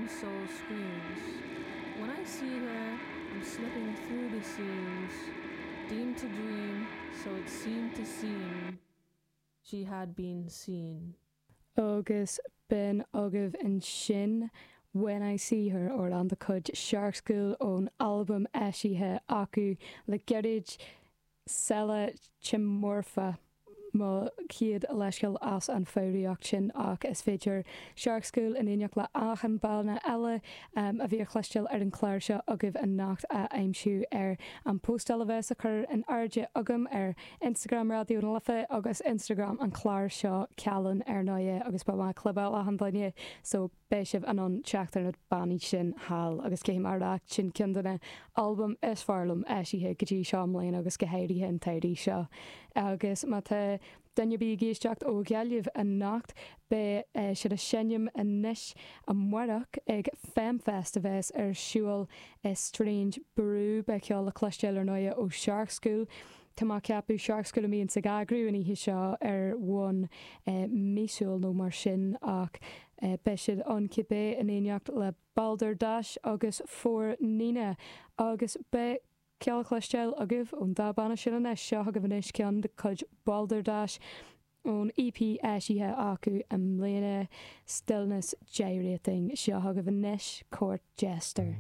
own soul screams. When I see her, I'm slipping through the seams, deemed to dream, so it seemed to seem she had been seen. Agus b'in agaibh ansin When I See Her, amhrán de chuid Shark School ón albam eisithe acu le gairid, Seile Chimorfa. Mo chéad leithscéal as an foghraíocht sin ach is féidir Shark School in éineacht le achan banna eile a bhí á chloisteáil ar an chlár seo agaibh anocht a aimsiú ar an póstáil a bheas á cur in airde agam ar Instagram Raidió na Life agus Instagram an chláir seo Cealann ar ndóighe agus beidh mé ag clibeáil achan duine so beidh sibh in ann teacht ar na bannaí sin thall agus caithfidh mé a rá sin ceann de na albaim is fearr liom eisithe go dtí seo i mbliana agus go háirithe an t-samhradh seo. Agus má tá duine ar bith ag éisteacht ó Ghaillimh anocht beidh siad ag seinm anois amárach ag Femfest a bheas ar siúl i Strange Brew. Beidh ceol le cloisteáil ar ndóighe ó Shark School. Tá mé ag ceapadh Shark School a bhíonns ag eagrú an oíche seo ar bhonn míosúil nó mar sin ach beidh siad ann cibé in éineacht le Balderdash agus For Nina agus beidh ceol le cloisteáil agaibh ón dá banna sin anois. Seo chugaibh anois ceann de chuid Balderdash ón EP eisithe acu i mbliana, Stillness Gyrating. Seo chugaibh anois Court Jester.